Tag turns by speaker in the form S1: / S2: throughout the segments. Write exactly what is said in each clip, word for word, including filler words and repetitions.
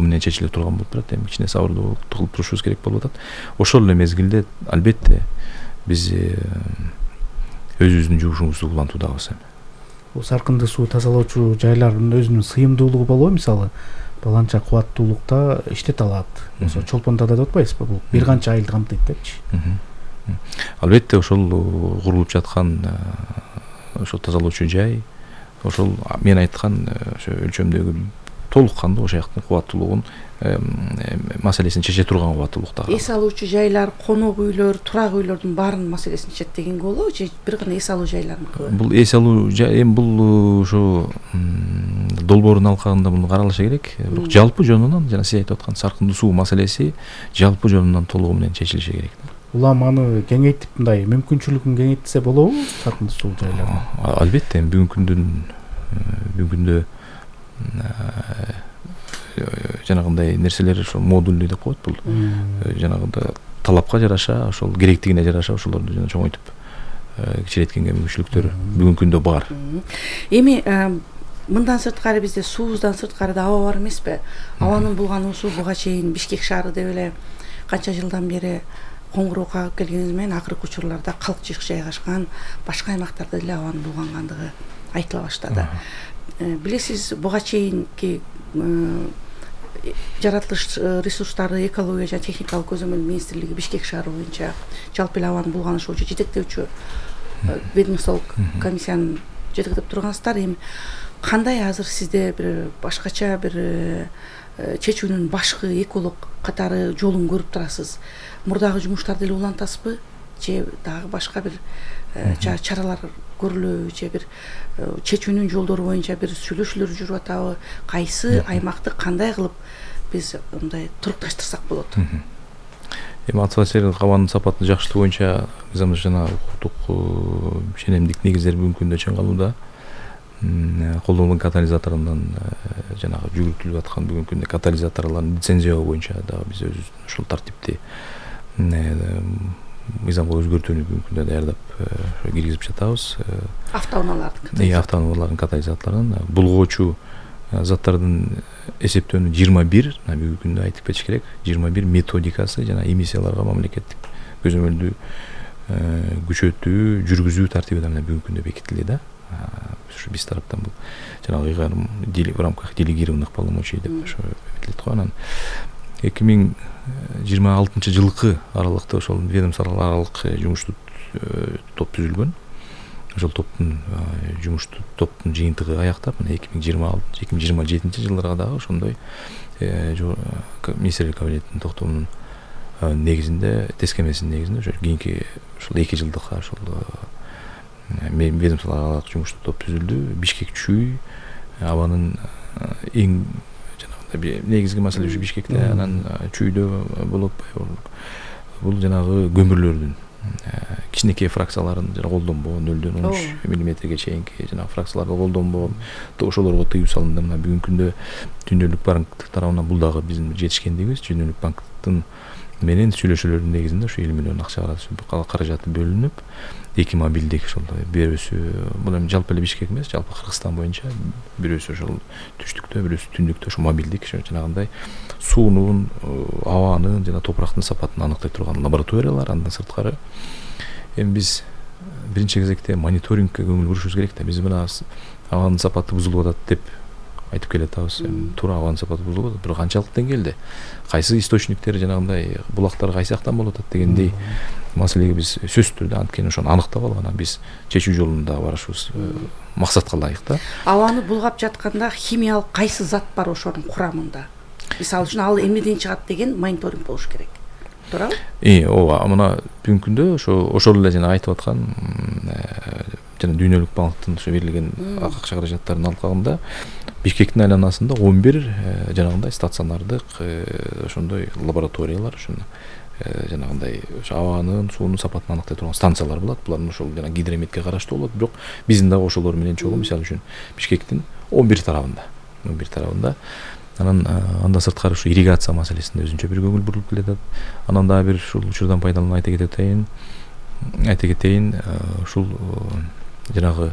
S1: толугу менен чечиле турган болуп турат. Эми кичине сабырдуу кылып турушубуз керек болуп атат. Ошол эле мезгилде албетте биз өзүбүздүн жумушубузду улантуудабыз.
S2: Бул саркынды суу тазалоочу жайлардын өзүнүн сыйымдуулугу болобу? Мисалы баланча кубаттуулукта иштете алат. Ошо чолпондордо деп атпайсызбы? Бул бир канча айылды камтыйт депчи.
S1: Албетте ошол курулуп жаткан ошо тазалоочу жай, ошол мен айткан ошо өлчөмдөгү толук кандуу ошол жактын кубаттуулугун маселесин чече турган кубаттуулукта.
S3: Эс алуучу жайлар, конок үйлөр, турак үйлөрдүн баарынын маселесин чечет дегенге болобу же бир гана эс алуу жайларыныкыбы?
S1: Бул эс алуу жай, эми бул ошо долбоордун алкагында муну каралышы керек. Бирок жалпы жөнүнөн жана сиз айтып аткан саркындуу суу маселеси жалпы жөнүнөн толугу менен чечилиши керек.
S2: Улам аны кеңейтип мындай мүмкүнчүлүгүн кеңейтсе болобу саркындуу суу жайларын?
S1: Албетте бүгүнкү күндүн бүгүнкү күндө жанагындай нерселер ошо модульный деп коет. Бул жанагындай талапка жараша, ошол керектигине жараша ошолорду жана чоңойтуп кичиреткенге мүмкүнчүлүктөр бүгүнкү күндө бар.
S3: Эми мындан сырткары бизде суубуздан сырткары да аба бар эмеспи? Абанын булгануусу буга чейин Бишкек шаары деп эле канча жылдан бери коңгуроо кагып келгенибиз менен акыркы учурларда калкчык жайгашкан башка аймактарда деле абанын булгангандыгы айтыла баштады. Билесиз, буга чейинки жаратылыш ресурстары, экология жана техникалык көзөмөл министрлиги Бишкек шаары боюнча жалпы эле абанын булганышуу боюнча жетектөөчү ведомстволук комиссияны жетектеп тургансыздар. Эми кандай азыр сизде бир башкача бир чечүүнүн башкы эколог катары жолун көрүп турасыз? Мурдагы жумуштарды эле улантасызбы же дагы башка бир чаралар көрүлөбү же бир чечүүнүн жолдору боюнча бир сүйлөшүүлөр жүрүп атабы? Кайсы аймакты кандай кылып биз мындай турукташтырсак болот?
S1: Эми атмосфералык абанын сапатын жакшыртуу боюнча мыйзам жана укуктук ченемдик негиздер бүгүнкү күндө чыңалууда. Колдонулган катализаторунан жанагы жүгүртүлүп аткан бүгүнкү күндө катализаторлордун лицензиялоо боюнча дагы биз өзүбүздүн ушул тартипти мыйзамга өзгөртүүнү бүгүнкү күндө даярдап киргизип жатабыз.
S3: Автоунаалардын
S1: Э, автоунаалардын катализаторун булгоочу заттардын эсептөөнү жыйырма бир, бүгүнкү күндө айтып кетиш керек, жыйырма бир методикасы жана эмиссияларга мамлекеттик көзөмөлдү күчөтүү, жүргүзүү тартиби да бүгүнкү күндө бекитилди да. Ушу биз тараптан бул жанагы ыйгарым в рамках делегированных полномочий деп ошо бекитилет го. Анан эки миң жыйырма алтынчы жылкы аралыкта ошол ведомстволук аралык жумуштуу топ түзүлгөн. Ошол топтун жумуштуу топтун жыйынтыгы аяктап, мына эки миң жыйырма алтынчы эки миң жыйырма жетинчи жылдарга дагы ошондой министрлик кабинетинин токтомунун негизинде, тескемесинин негизинде ошо кийинки ушул эки жылдыкка ошол ведомстволук аралык жумуштуу топ түзүлдү. Бишкек чүй абанын эң жанагындай негизги маселе ушу Бишкекте, анан чүйдө болуп бул жанагы көмүрлөрдүн кичинекей фракцияларын жана колдонбоо нөлдөн он үч миллиметрге чейинки жанагы фракцияларды колдонбоо, ошолорго тыюу салынды. Мына бүгүнкү күндө Дүйнөлүк банк тарабынан бул дагы биздин жетишкендигибиз. Дүйнөлүк банктын менен сүйлөшүүлөрдүн негизинде ушу элүү миллион акча каражаты бөлүнүп, эки мобилдик ошол бирөөсү бул эми жалпы эле Бишкек эмес, жалпы Кыргызстан боюнча бирөөсү ошол түштүктө, бирөөсү түндүктө ошо мобилдик жанагындай суунун, абанын жана топурактын сапатын аныктай турган лабораториялар. Андан сырткары эми биз биринчи кезекте мониторингке көңүл бурушубуз керек да. Биз мына абанын сапаты бузулуп атат деп айтып келатабыз. Туура абанын сапаты бузулуп атат, бирок канчалык деңгээлде, кайсы источниктер жанагындай булактар кайсы жактан болуп атат дегендей маселеге биз сөзсүз түрдө анткени ошону аныктап алып анан биз чечүү жолунда барышыбыз максатка ылайык да.
S3: Абаны булгап жатканда химиялык кайсы зат бар ошонун курамында? Мисалы үчүн ал эмнеден чыгат деген мониторинг болуш керек. Туурабы? Э,
S1: ооба. Мына бүгүнкү күндө ошо ошол эле жана айтып аткан жана Дүйнөлүк банктын ошо берилген акча каражаттарынын алкагында Бишкектин айланасында он бир жанагындай стационардык ошондой лабораториялар, ошону жанагындай ошо абанын, суунун сапатын аныктай турган станциялар болот. Булардын ошол жана гидрометке караштуу болот. Бирок биздин дагы ошолор менен чогуу, мисалы үчүн Бишкектин он бир тарабында, он бир тарабында. Анан андан сырткары ушу ирригация маселесинде өзүнчө бир көңүл бурулуп келатат. Анан дагы бир ушул учурдан пайдаланып айта кетейин, айта кетейин, ушул жанагы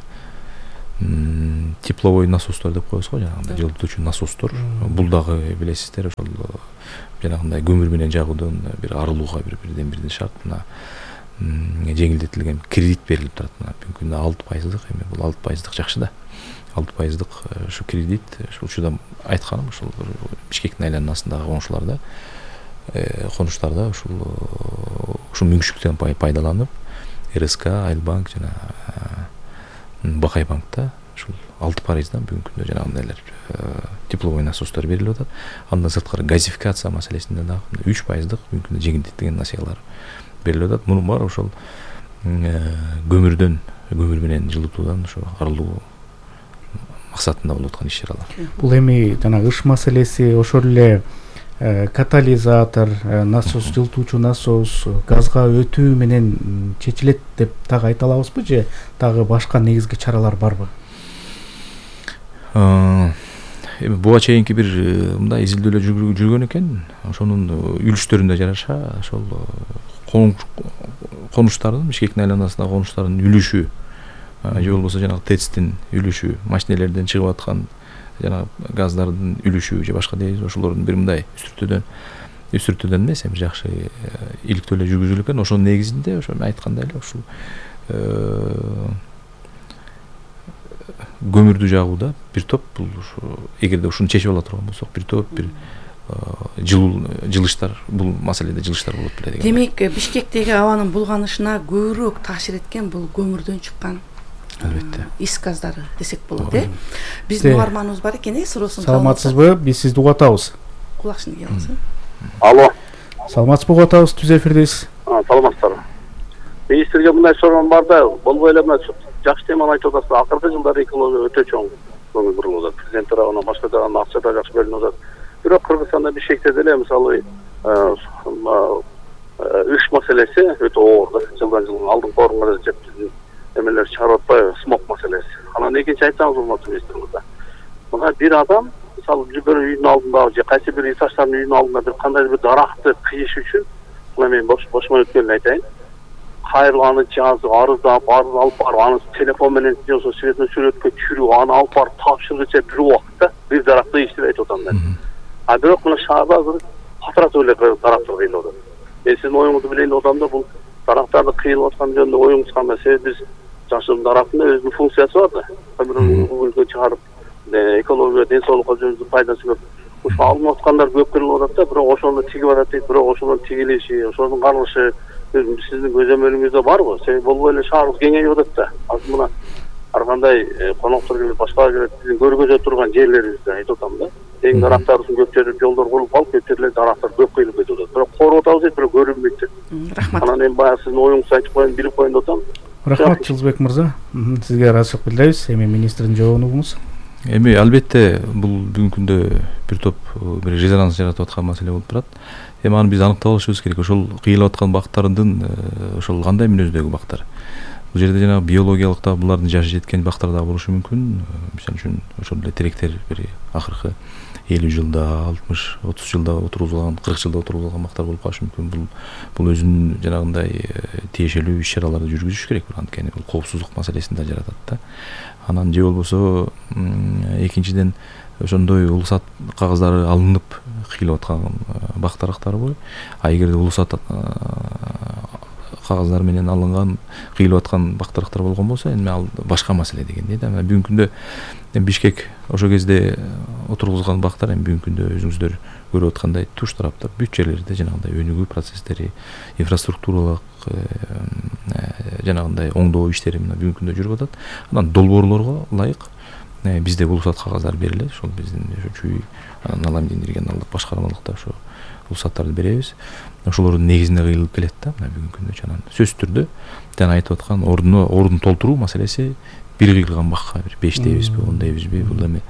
S1: тепловой насостор деп коебуз го, жанагындай жылытуучу насостор. Бул дагы билесиздер, ошол жанагындай көмүр менен жагуудан бир арылууга бир бирден бирден шарт. Мына жеңилдетилген кредит берилип турат. Мына бүгүнкү күндө алты пайыздык, эми бул алты пайыздык жакшы да. алты пайыздык ушу кредит, ушул учурда айтканым, ушул Бишкектин айланасындагы коңшуларда, конуштарда ушул ушул мүмкүнчүлүктөн пайдаланып, РСК, Айлбанк жана Бакай банкта ушул алты пайыздан бүгүнкү күндө жанагындайлар тепловой насостор берилип атат. Андан сырткары газификация маселесинде дагы үч пайыздык бүгүнкү күндө жеңилдетилген насыялар берилип атат. Мунун баары ошол көмүрдөн, көмүр менен жылытуудан ошо арылуу максатында болуп аткан иш-чаралар.
S2: Бул эми жанагы ыш маселеси, ошол эле катализатор, насос, жылытуучу насос, газга өтүү менен чечилет деп дагы айта алабызбы, же дагы башка негизги чаралар барбы?
S1: Эми буга чейинки бир мындай изилдөөлөр жүргөн экен. Ошонун үлүштөрүнө жараша ошол конуштардын, Бишкектин айланасындагы конуштардын үлүшү, же болбосо жанагы ТЭЦтин үлүшү, машинелерден чыгып аткан жана газдардын үлүшү же башка дейбиз, ошолордун бир мындай үстүртөдөн үстүртөдөн эмес, эми жакшы иликтөөлөр жүргүзүлгөн экен. Ошонун негизинде ошо айткандай эле ушул көмүрдү жагууда бир топ, бул эгерде ушуну чечип ала турган болсок, бир топ бир жылуу жылыштар, бул маселеде жылыштар болот беле деген.
S3: Демек, Бишкектеги абанын булганышына көбүрөөк таасир эткен бул көмүрдөн чыккан
S1: албетте
S3: ис газдары десек болот, э? Биздин угарманыбыз бар экен, э, суроосун.
S2: Саламатсызбы? Биз сизди угуп атабыз.
S3: Кулакчын кип алыңыз.
S4: Алло.
S2: Саламатсызбы, угуп атабыз, түз эфирдесиз.
S4: А, саламатсыздарбы. Министрге мындай суроо бар да, болбой эле мына жакшы теманы айтып атасыз. Акыркы жылдары экология өтө чоң көңүл бурулуп атат. Президент тарабынан башка жагынан акча да жакшы берилип атат. Бирок Кыргызстанда Бишкекте деле мисалы үш маселеси өтө оор да. Жылдан жылга алдыңкы орунга жеп эмелер чыгарып атпайбы, смог маселеси. Анан экинчи айтсаңыз, урматтуу министр мырза. Мына бир адам мисалы бир үйдүн алдында же кайсы бир этаждардын үйдүнүн алдында бир кандайдыр бир даракты кыйыш үчүн, мына мен бошмо өткөнүн айтайын. Кайрылып аны жазып, арыздап, арыз алып барып, аны телефон менен же болбосо светный сүрөткө түшүрүп, аны алып барып тапшыргыча бир убакытта бир даракты иштеп айтып атам мен. А бирок мына шаарда азыр катыратып эле дарактар кыйылып атат. Мен сиздин оюңузду билейин деп атам да, бул дарактарды кыйылып аткан жөнүндө оюңуз кандай? Себеби биз жашыл дарактын өзүнүн функциясы бар да. Көмүрдү чыгарып, экология, ден соолукка жөнүндө пайдасы көп. Ушул алынып аткандар көп кылынып атат да, бирок ошону тигип атат дейт, бирок ошонун тигилиши, ошонун каралышы сиздин көзөмөлүңүздө барбы? Себеби болбой эле шаарыбыз кеңейип атат да. Азыр мына ар кандай коноктор келип, башкалар келип, биздин көргөзө турган жерлерибизди айтып атам да. Эң дарактардын көп жерде жолдор курулуп калып, көп жерде дарактар көп кыйылып кетип атат. Бирок коруп атабыз дейт, бирок көрүнбөйт дейт.
S3: Рахмат.
S4: Анан эми баягы сиздин оюңузду айтып коеюн, билип коеюн деп атам.
S2: Рахмат, Жылызбек мырза. Сизге ыраазычылык билдиребиз. Эми министрдин жообун угуңуз.
S1: Эми албетте бул бүгүнкү күндө бир топ бир резонанс жаратып аткан маселе болуп турат. Эми аны биз аныктап алышыбыз керек. Ошол кыйылып аткан бактардын ошол кандай мүнөздөгү бактар? Бул жерде жана биологиялык да булардын жашы жеткен бактар да болушу мүмкүн. Мисалы үчүн ошол эле теректер бир акыркы элүү жылда, алтымыш, отуз жылда отурулган, кырк жылда отурулган бактар болуп калышы мүмкүн. Бул бул өзүнүн жанагындай тиешелүү иш-чараларды жүргүзүш керек. Анткени бул коопсуздук маселесин да жаратат да. Анан же болбосо экинчиден ошондой улусат кагаздары алынып кыйылып аткан бак дарактарбы? А эгерде улусат кагаздары менен алынган кыйылып аткан бак дарактар болгон болсо, эми ал башка маселе дегендей да. Бүгүнкү күндө Бишкек ошол кезде отургузган бактар эми бүгүнкү күндө өзүңүздөр көрүп аткандай туш тараптар бүт жерлерде жанагындай өнүгүү процесстери, инфраструктуралык жанагындай оңдоо иштери мына бүгүнкү күндө жүрүп атат. Анан долбоорлорго ылайык бизде улусат кагаздар берилет. Ошол биздин чүй налам регионалдык башкармалыкта ошо улусаттарды беребиз. Ошолордун негизинде кыйылып келет да. Мына бүгүнкү күндө чанан сөзсүз түрдө жана айтып аткан ордуну ордун толтуруу маселеси бир кыйылган бакка бир беш дейбизби, он дейбизби, бул эми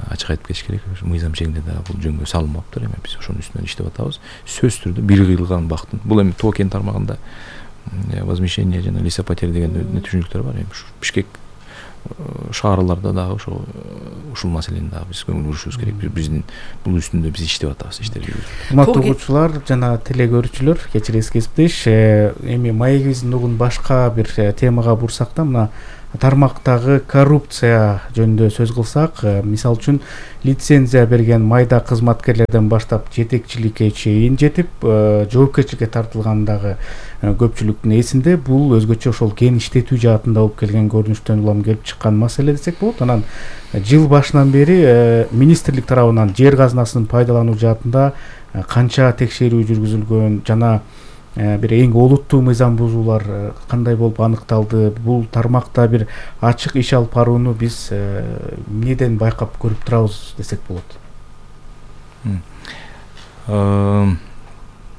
S1: ачык айтып кетиш керек. Мыйзам чегинде да бул жөнгө салынмаптыр. Эми биз ошонун үстүнөн иштеп атабыз. Сөзсүз түрдө бир кыйылган бактын. Бул эми Тоо кен тармагында возмещение жана лесопотери деген түшүнүктөр бар. Эми Бишкек шаарларда дагы ошо ушул маселени дагы биз көңүл бурушубуз керек. Биздин бул үстүндө биз иштеп атабыз, иштер жүргүзүп.
S2: Урматтуу угуучулар жана теле көрүүчүлөр, кечиресиз кесиптеш. Эми маегибиздин угун башка бир темага бурсак да, мына тармактагы коррупция жөнүндө сөз кылсак, мисалы үчүн лицензия берген майда кызматкерлерден баштап жетекчиликке чейин жетип жоопкерчиликке тартылгандагы көпчүлүктүн эсинде бул өзгөчө ошол кен иштетүү жаатында болуп келген көрүнүштөн улам келип чыккан маселе десек болот. Анан жыл башынан бери министрлик тарабынан жер казынасын пайдалануу жаатында канча текшерүү жүргүзүлгөн жана бир эң олуттуу мыйзам бузуулар кандай болуп аныкталды? Бул тармакта бир ачык иш алып барууну биз эмнеден байкап көрүп турабыз десек болот?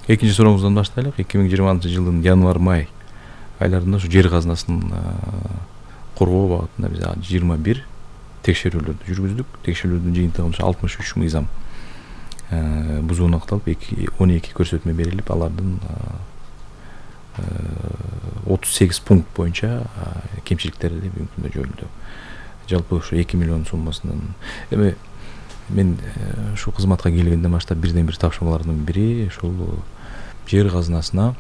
S1: Экинчи сурооңуздан баштайлык. эки миң жыйырманчы жылдын январь-май айларында ушу жер казынасын коргоо багытында биз жыйырма бир текшерүүлөрдү жүргүздүк. Текшерүүлөрдүн жыйынтыгы алтымыш үч мыйзам бузуу аныкталып, он эки көрсөтмө берилип, алардын отуз сегиз пункт боюнча кемчиликтери бүгүнкү күндө жоюлду. Жалпы ушу эки миллион суммасынын эми мен ушу кызматка келгенден баштап бирден бир тапшырмалардын бири ушул жер казынасына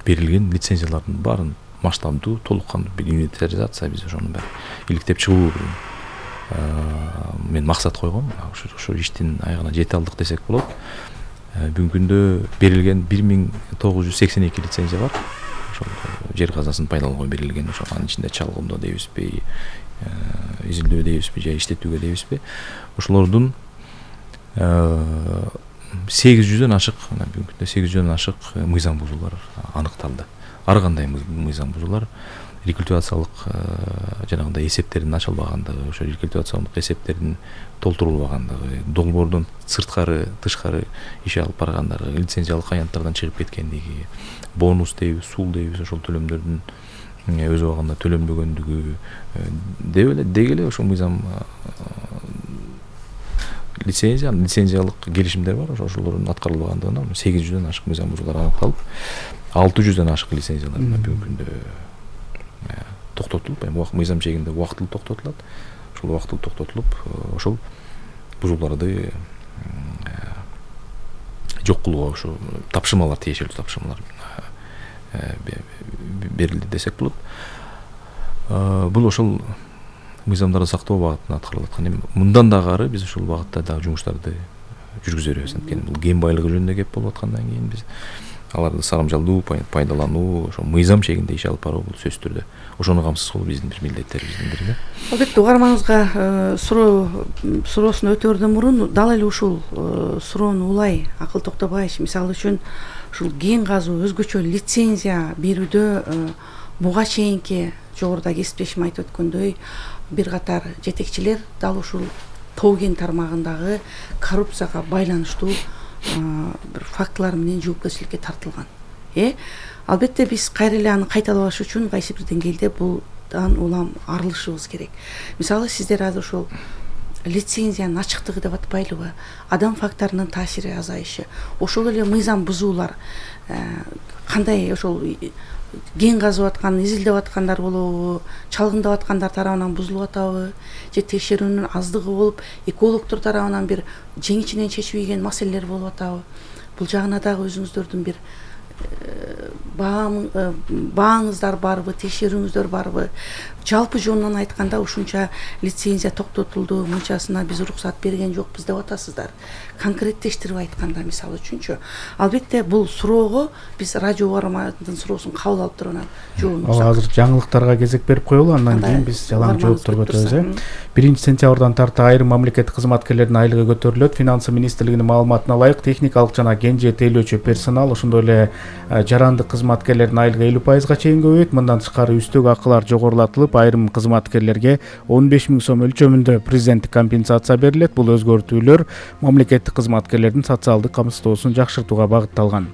S1: берилген лицензиялардын баарын масштабдуу, толук кандуу бир инвентаризация, биз ошонун баарын иликтеп чыгуу мен максат койгом. Ошо иштин аягына жете алдык десек болот. Бүгүнкү күндө берилген бир миң тогуз жүз сексен эки лицензия бар. Ошол жер казынасын пайдаланууга берилген, ошол анын ичинде чалгымдоо дейбизби, изилдөө дейбизби, же иштетүүгө дейбизби, ошолордун сегиз жүздөн ашык, бүгүнкү күндө сегиз жүздөн ашык мыйзам бузуулар аныкталды. Ар кандай мыйзам бузуулар, рекультивациялык жанагындай эсептердин ачылбагандыгы, ошо рекультивациялык эсептердин толтурулбагандыгы, долбоордон сырткары, тышкары иш алып баргандыгы, лицензиялык аянттардан чыгып кеткендиги, бонус дейбиз, сул дейбиз, ошол төлөмдөрдүн өз убагында төлөнбөгөндүгү деп эле деги эле ошол мыйзам лицензия, лицензиялык келишимдер бар, ошолордун аткарылбагандыгынан сегиз жүздөн ашык мыйзам бузуулар аныкталып, алты жүздөн ашык лицензиялар бүгүнкү күндө токтотулуп, эми мыйзам чегинде убактылуу токтотулат. Ошол убактылуу токтотулуп, ошол бузууларды жок кылууга ушу тапшырмалар, тиешелүү тапшырмалар берилди десек болот. Бул ошол мыйзамдарды сактоо багытында аткарылып аткан. Эми мындан дагы ары биз ушул багытта дагы жумуштарды жүргүзө беребиз. Анткени бул кен байлыгы жөнүндө кеп болуп аткандан кийин биз аларды сарамжалдуу, пайдалануу, ошо мыйзам чегинде иш алып баруу бул сөзсүз түрдө ошону камсыз кылуу биздин бир милдеттерибиздин бири.
S3: Албетте угарманыбызга суроо суроосун өтөөрдөн мурун дал эле ушул суроону улай Акыл Токтобаевич, мисалы үчүн ушул кен казуу, өзгөчө лицензия берүүдө буга чейинки жогоруда кесиптешим айтып өткөндөй бир катар жетекчилер дал ушул тоо кен тармагындагы коррупцияга байланыштуу бир фактылар менен жоопкерчиликке тартылган. Э албетте биз кайра эле аны кайталабаш үчүн кайсы бир деңгээлде булдан улам арылышыбыз керек. Мисалы сиздер азыр ошол лицензиянын ачыктыгы деп атпайлыбы, адам факторунун таасири азайышы, ошол эле мыйзам бузуулар кандай ошол кен казып аткан, изилдеп аткандар болобу, чалгындап аткандар тарабынан бузулуп атабы, же текшерүүнүн аздыгы болуп, экологдор тарабынан бир жең ичинен чечилбеген маселелер болуп атабы. Бул жагына дагы өзүңүздөрдүн бир бааңыздар барбы, текшерүүңүздөр барбы? Жалпы жонунан айтканда ушунча лицензия токтотулду, мынчасына биз уруксат берген жокпуз деп атасыздар. Конкреттештирип айтканда мисалы үчүнчү, албетте бул суроого биз радио угармандын суроосун кабыл алып туруп анан жообун
S2: алсак. Азыр жаңылыктарга кезек берип коелу, андан кийин биз жалаң жоопторго өтөбүз. биринчи сентябрдан тарта айрым мамлекеттик кызматкерлердин айлыгы көтөрүлөт. Финансы министрлигинин маалыматына ылайык техникалык жана кен же тейлөөчү персонал, ошондой эле жарандык кызматкерлердин айлыгы элүү пайызга чейин көбөйөт. Мындан тышкары үстөк акылар жогорулатылып, айрым кызматкерлерге он беш миң сом өлчөмүндө президенттик компенсация берилет. Бул өзгөртүүлөр мамлекеттик кызматкерлердин социалдык камсыздоосун жакшыртууга багытталган.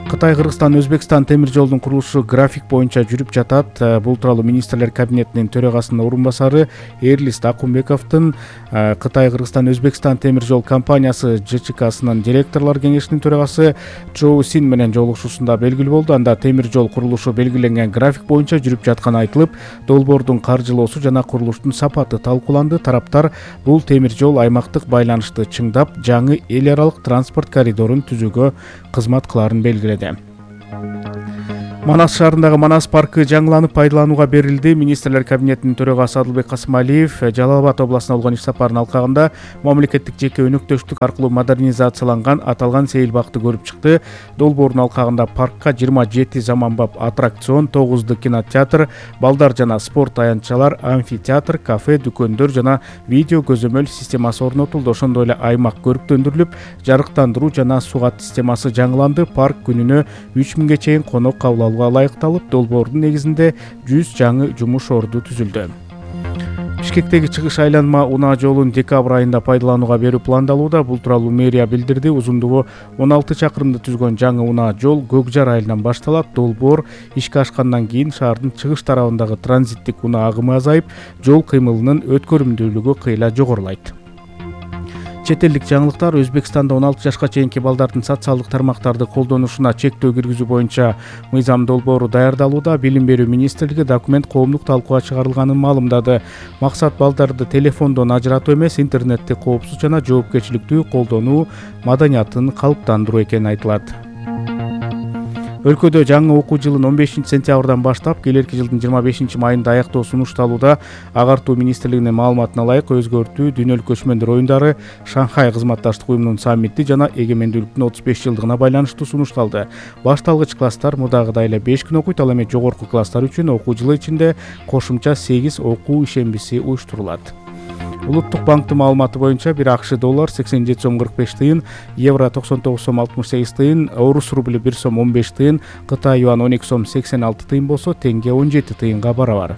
S2: Кытай, Кыргызстан, Өзбекстан темир жолдун курулушу график боюнча жүрүп жатат. Бул тууралуу министрлер кабинетинин төрагасынын орун басары Эрлист Акунбековдун Кытай, Кыргызстан, Өзбекстан темир жол компаниясы Ж Ч Ксынын директорлор кеңешинин төрагасы Чоу Син менен жолугушуусунда белгилүү болду. Анда темир жол курулушу белгиленген график боюнча жүрүп жатканы айтылып, долбоордун каржылоосу жана курулуштун сапаты талкууланды. Тараптар бул темир жол аймактык байланышты чыңдап, жаңы эл аралык транспорт коридорун түзүүгө кызмат кылаарын белгиледи. Манас шаарындагы Манас паркы жаңыланып пайдаланууга берилди. Министрлер кабинетинин төрагасы Адылбек Касымалиев Жалал Абад областына болгон иш сапарынын алкагында мамлекеттик жеке өнөктөштүк аркылуу модернизацияланган аталган сейил бакты көрүп чыкты. Долбоордун алкагында паркка жыйырма жети заманбап аттракцион, тогуз кинотеатр, балдар жана спорт аянтчалар, амфитеатр, кафе, дүкөндөр жана видео көзөмөл системасы орнотулду. Ошондой эле аймак көрүктөндүрүлүп, жарыктандыруу жана сугат системасы жаңыланды. Парк күнүнө үч миңге чейин конок кабыл алууга ылайыкталып, долбоордун негизинде жүз жаңы жумуш орду түзүлдү. Бишкектеги чыгыш айланма унаа жолун декабрь айында пайдаланууга берүү пландалууда. Бул тууралуу мэрия билдирди. Узундугу он алты чакырымды түзгөн жаңы унаа жол Көк Жар айылынан башталат. Долбоор ишке ашкандан кийин шаардын чыгыш тарабындагы транзиттик унаа агымы азайып, жол кыймылынын өткөрүмдүүлүгү кыйла жогорулайт. Чет элдик жаңылыктар: Өзбекстанда он алты жашка чейинки балдардын социалдык тармактарды колдонушуна чектөө киргизүү боюнча мыйзам долбоору даярдалууда. Билим берүү министрлиги документ коомдук талкууга чыгарылганын маалымдады. Максат балдарды телефондон ажыратуу эмес, интернетти коопсуз жана жоопкерчиликтүү колдонуу маданиятын калыптандыруу экени айтылат. Өлкөдө жаңы окуу жылын он бешинчи сентябрдан баштап келерки жылдын жыйырма бешинчи майында аяктоо сунушталууда. Агартуу министрлигинин маалыматына ылайык, өзгөртүү дүйнөлүк көчмөндөр оюндары, Шанхай кызматташтык уюмунун саммити жана эгемендүүлүктүн отуз беш жылдыгына байланыштуу сунушталды. Башталгыч класстар мудагыдай эле беш күн окуйт, ал эми жогорку класстар үчүн окуу жылы ичинде кошумча сегиз окуу ишембиси уюштурулат. Улуттук банктын маалыматы боюнча бир АКШ доллар сексен жети сом кырк беш тыйын, евро токсон тогуз сом алтымыш сегиз тыйын, орус рубли бир сом он беш тыйын, Кытай юан он эки сом сексен алты тыйын болсо, теңге он жети тыйынга барабар.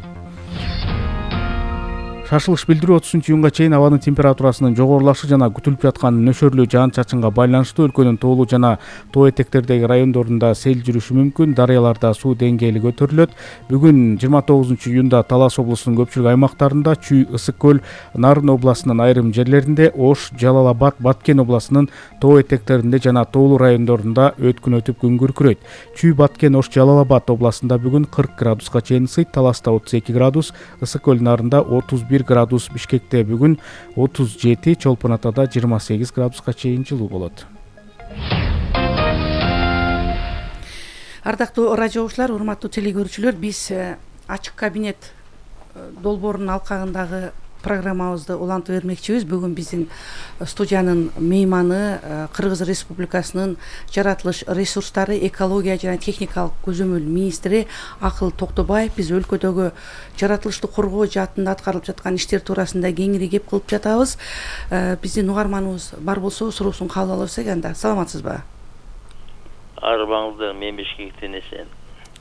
S2: Шашылыш билдирүү отузунчу июнга чейин абанын температурасынын жогорулашы жана күтүлүп жаткан нөшөрлүү жаан-чачынга байланыштуу өлкөнүн тоолуу жана тоо этектердеги райондорунда сел жүрүшү мүмкүн. Дарыяларда суу деңгээли көтөрүлөт. Бүгүн жыйырма тогузунчу июнда Талас облусунун көпчүлүк аймактарында, Чүй, Ысык көл, Нарын областынын айрым жерлеринде, Ош, Жалал Абад, Баткен областынын тоо этектеринде жана тоолуу райондорунда өткүн өтүп күн күркүрөйт. Чүй, Баткен, Ош, Жалал Абад областында бүгүн кырк градуска чейин ысыйт. Таласта отуз эки градус, Ысык көл, Нарында отуз бир градус, Бишкекте бүгүн отуз жети, Чолпон Атада жыйырма сегиз градуска чейин жылуу болот.
S3: Ардактуу радио угуучулар, урматтуу телекөрүүчүлөр, биз ачык кабинет долбоорунун алкагындагы программабызды улантып бермекчибиз. Бүгүн биздин студиянын мейманы Кыргыз Республикасынын жаратылыш ресурстары, экология жана техникалык көзөмөл министри Акыл Токтобаев биз өлкөдөгү жаратылышты коргоо жаатында аткарылып жаткан иштер туурасында кеңири кеп кылып жатабыз. Биздин угарманыбыз бар болсо суроосун кабыл алабыз анда. Саламатсызбы?
S5: Арбаңыздар, мен Бишкектен эсен.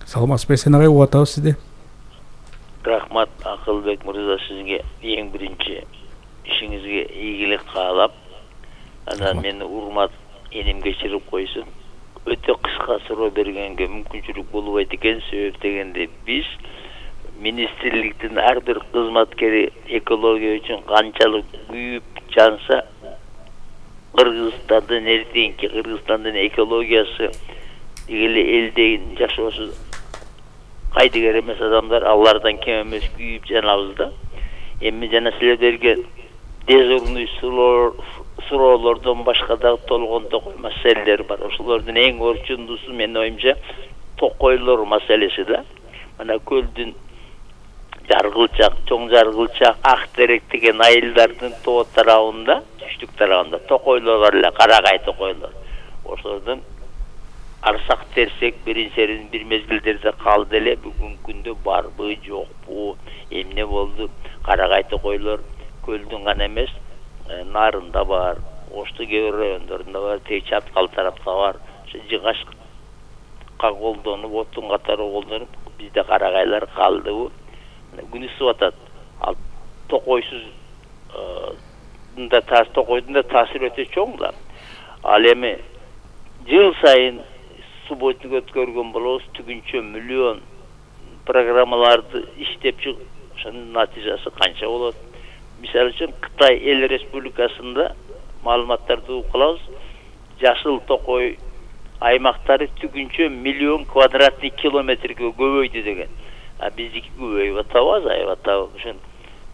S2: Саламатсызбы, Эсен агай, угуп атабыз сизди.
S5: Рахмат Акылбек мырза, сизге эң биринчи ишиңизге ийгилик каалап, анан мени урмат эним кечирип койсун. Өтө кыска суроо бергенге мүмкүнчүлүк болбойт экен. Себеп дегенде биз министрликтин ар бир кызматкери экология үчүн канчалык күйүп жанса, Кыргызстандын эртеңки Кыргызстандын экологиясы дегеле элдин жашоосу кайдыгер эмес адамдар, алардан кем эмес күйүп жанабыз да. Эми жана силер берген дежурный суроолордон башка дагы толгон токой маселелер бар. Ошолордун эң орчундуусу менин оюмча токойлор маселеси да. Мына көлдүн Жаргылчак, Чоң Жаргылчак, Ак Терек деген айылдардын тоо тарабында, түштүк тарабында токойлор бар эле, карагай токойлор. Ошолордун арсак терсек биринчерин бир мезгилдерде калды эле. Бүгүнкү күндө барбы, жокпу, эмне болду? Карагай токойлор көлдүн гана эмес, Нарында бар, Ошту кээ бир райондорунда бар, тээ Чаткал тарапта бар. Ошо жыгашка колдонуп, оттун катары колдонуп, бизде карагайлар калдыбы? Күн ысып атат. Ал токойсуз да тас токойдун да таасири өтө чоң да. Ал эми жыл сайын субботник өткөргөн болобуз, түгүнчө миллион программаларды иштеп чыгып, ошонун натыйжасы канча болот? Мисалы үчүн Кытай эл республикасында маалыматтарды укулабыз, жашыл токой аймактары түгүнчө миллион квадратный километрге көбөйдү деген. А биздики көбөйүп атабы, азайып атабы? Ошон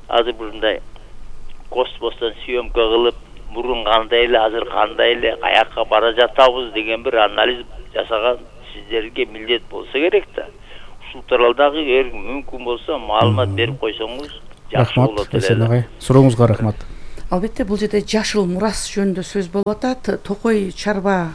S5: азыр мындай космостон съемка кылып, мурун кандай эле, азыр кандай эле, каякка бара жатабыз деген бир анализ жасаган сиздерге милдет болсо керек да. Ушул тууралдагы эгер мүмкүн болсо маалымат берип койсоңуз жакшы болот
S2: эле. Рахмат, Эсен агай. Сурооңузга рахмат.
S3: Албетте, бул жерде жашыл мурас жөнүндө сөз болуп атат. Токой чарба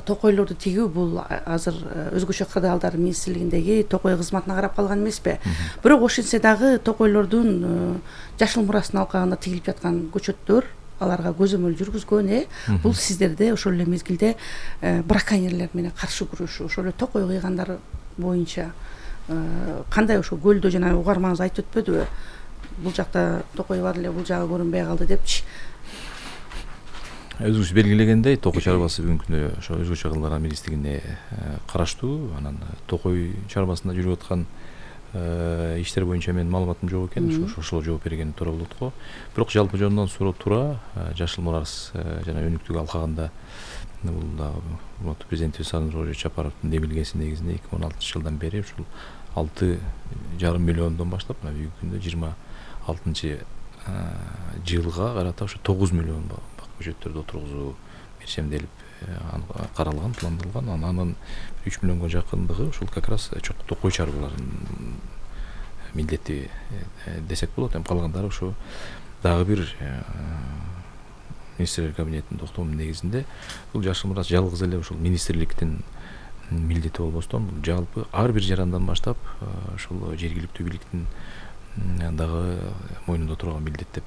S3: токойлорду тигүү бул азыр өзгөчө кырдаалдар министрлигиндеги токой кызматына карап калган эмеспи. Бирок ошентсе дагы токойлордун жашыл мурастын алкагында тигилип жаткан көчөттөр, аларга көзөмөл жүргүзгөн, э бул сиздерде ошол эле мезгилде браконьерлер менен каршы күрөшүү, ошол эле токой кыйгандар боюнча кандай, ошо көлдө жана угармаңыз айтып өтпөдүбү? Бул жакта токой бар эле, бул жагы көрүнбөй калды депчи.
S1: Өзүңүз белгилегендей, токой чарбасы бүгүнкү күндө ошо өзгөчө кырдаалдар министрлигине караштуу. Анан токой чарбасында жүрүп аткан иштер боюнча менин маалыматым жок экен, ошо ошол жооп берген туура болот го. Бирок жалпы жөнүнөн суроо туура, жашыл мурас жана өнүктүк алкагында бул дагы президентибиз Сооронбай Жапаровдун демилгеси негизинде эки миң он алтынчы жылдан бери ушул алты жарым миллиондон баштап мына бүгүнкү күндө жыйырма алтынчы жылга карата ошо тогуз миллион көчөттөрдү отургузуу мерчемделип каралган, пландалган. Анан үч миллионго жакындыгы ушул как раз токой чарбаларынын милдети десек болот. Эми калгандары ошо дагы бир министрлер кабинетинин токтомунун негизинде бул жашыл мурас жалгыз эле ушул министрликтин милдети болбостон бул жалпы ар бир жарандан баштап ушул жергиликтүү бийликтин дагы мойнунда турган милдет деп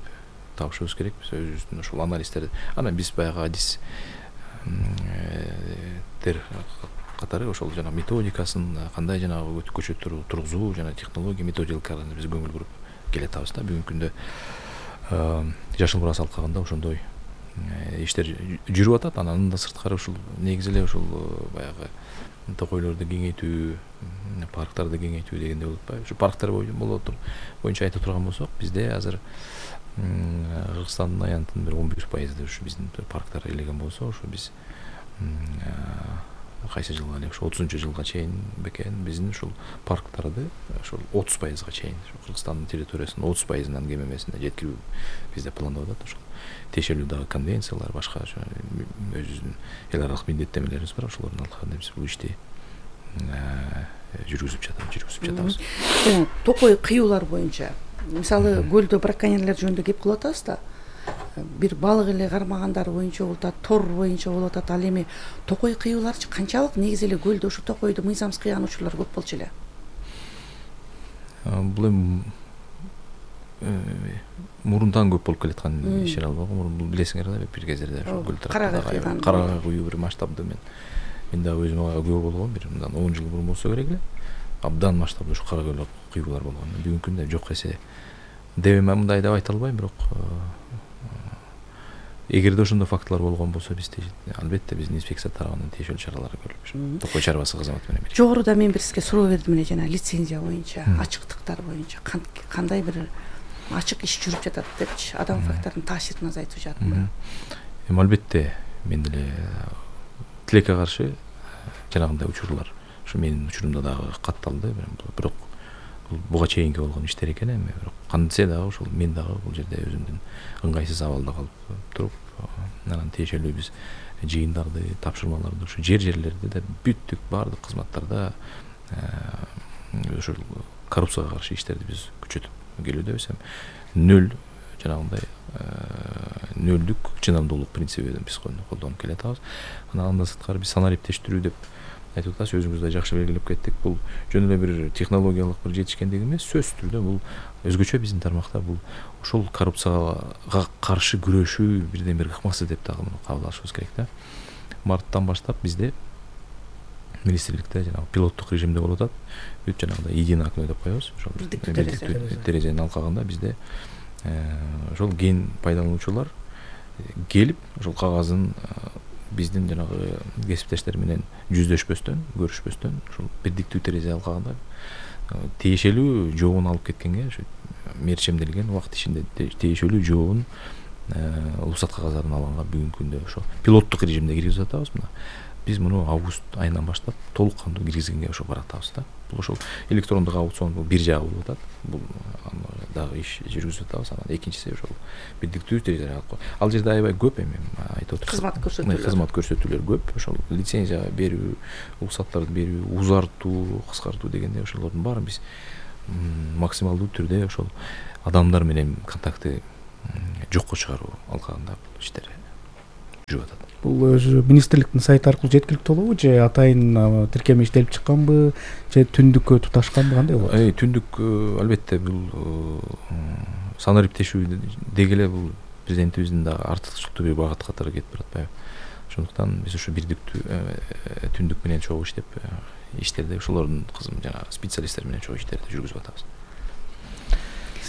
S1: табышыбыз керек. Биз өзүбүздүн ушул анализдерди анан биз баягы адис тер катары ошол жана методикасын кандай жанагы көчөттөрдү тургузуу жана технология методикаларына биз көңүл буруп келатабыз да. Бүгүнкү күндө жашыл мурас алкагында ошондой иштер жүрүп атат. Анан да сырткары ушул негизи эле ушул баягы токойлорду кеңейтүү, парктарды кеңейтүү дегенде болуп атпайбы? Ушу парктар боюнча айта турган болсок, бизде азыр Кыргызстандын аянтынын бир он бир пайызы ушу биздин парктар элеген болсо, ошо биз кайсы жылга эле ошо отузунчу жылга чейин бекен биздин ушул парктарды ошол отуз пайызга чейин Кыргызстандын территориясынын отуз пайызынан кем эмесине жеткирүү бизде пландап атат. Ошол тиешелүү дагы конвенциялар, башка өзүбүздүн эл аралык милдеттемелерибиз бар. Ошолордун алкагында биз бул ишти жүргүзүп жатабыз, жүргүзүп жатабыз.
S3: Жана токой кыюулар боюнча, мисалы көлдө браконьерлер жөнүндө кеп кылып атабыз да. Бир балык эле кармагандар боюнча болуп атат, тор боюнча болуп атат. Ал эми токой кыюуларчы канчалык негизи эле көлдө ушу токойду мыйзамсыз кыйган учурлар көп болчу эле?
S1: Бул эми мурундан көп болуп келаткан ишер албагы. Бул билесиңер да, бир кездерде ошо көл тарапында карага куюу бир масштабды мен мен дагы өзүм ага күбө болгом. Бир мындан он жыл мурун болсо керек эле. Абдан масштабдуу ушу кара көл кыюулар болгон. Бүгүнкү күндө жок эсе деп мындай деп айта албайм, бирок эгерде ошондой фактылар болгон болсо биз албетте биздин инспекция тарабынан тиешелүү чаралар көрүлүп, токой чарбасы кызматы менен.
S3: Жогоруда мен бир сизге суроо бердим эле, жана лицензия боюнча, ачыктыктар боюнча кандай бир ачык иш жүрүп жатат депчи, адам факторунун таасирин азайтып жатат.
S1: Эми албетте мен деле тилекке каршы жанагындай учурлар ушу менин учурумда дагы катталды, бирок бул буга чейинки болгон иштер экен. Эми бирок кантсе дагы ошол мен дагы бул жерде өзүмдүн ыңгайсыз абалда калып туруп, анан тиешелүү биз жыйындарды, тапшырмаларды ушу жер жерлерде да бүттүк баардык кызматтарда ошол коррупцияга каршы иштерди биз күчөтүп келүүбүз. Эми нөл жанагындай нөлдүк чыдамдуулук принцибин биз колдонуп келатабыз. Анан андан сырткары биз санариптештирүү деп айтып атасыз, өзүңүз да жакшы белгилеп кеттик. Бул жөн эле бир технологиялык бир жетишкендик эмес, сөзсүз түрдө бул өзгөчө биздин тармакта бул ошол коррупцияга каршы күрөшүү бирден бир ыкмасы деп дагы кабыл алышыбыз керек да. Марттан баштап бизде министрликте жанагы пилоттук режимде болуп атат. Бүт жанагындай единый окно деп коебуз. Ошол терезенин алкагында бизде ошол ген пайдалануучулар келип ошол кагазын биздин жанагы кесиптештер менен жүздөшпөстөн, көрүшпөстөн ошол бирдиктүү терезе алкагында тиешелүү жообун алып кеткенге, ошо мерчемделген убакыт ичинде тиешелүү жообун уруксат кагаздарын алганга бүгүнкү күндө ошо пилоттук режимде киргизип атабыз. Мына биз муну август айынан баштап толук кандуу киргизгенге ошо баратабыз да. Бул ошол электрондук аукцион бул бир жагы болуп атат. Бул дагы иш жүргүзүп атабыз. Анан экинчиси ошол бирдиктүү территориялык алып коюш. Ал жерде аябай көп эми айтып отурсак.
S3: Кызмат көрсөтүүлөр.
S1: Кызмат көрсөтүүлөр көп. Ошол лицензия берүү, уруксаттарды берүү, узартуу, кыскартуу дегенде ошолордун баарын биз максималдуу түрдө ошол адамдар менен контактты жокко чыгаруу алкагында бул иштер жүрүп атат.
S2: Бул өзү министрликтин сайты аркылуу жеткиликтүү болобу же атайын тиркеме иштелип чыкканбы же түндүккө туташканбы, кандай болот?
S1: Эй, түндүк албетте бул санариптешүү деги эле бул президентибиздин дагы артыкчылыктуу бир багыт катары кетип баратпайбы. Ошондуктан биз ушу бирдиктүү түндүк менен чогуу иштеп иштерди ошолордун кызым жана специалисттер менен чогуу иштерди жүргүзүп атабыз.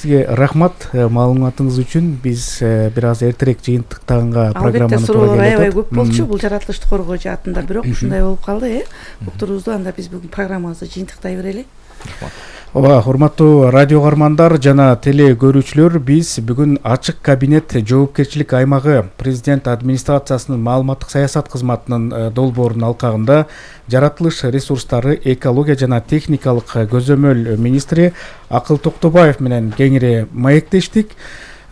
S2: Сизге рахмат маалыматыңыз үчүн. Биз бир аз эртерээк жыйынтыктаганга программаны
S3: албетте суроолор аябай көп болчу бул жаратылышты коргоо жаатында, бирок ушундай болуп калды, э. Уктуруубузду анда биз бүгүн программабызды жыйынтыктай берели.
S2: Ооба, урматтуу радио каармандар жана теле көрүүчүлөр, биз бүгүн ачык кабинет жоопкерчилик аймагы президент администрациясынын маалыматтык саясат кызматынын долбоорунун алкагында жаратылыш ресурстары, экология жана техникалык көзөмөл министри Акыл Токтобаев менен кеңири маектештик.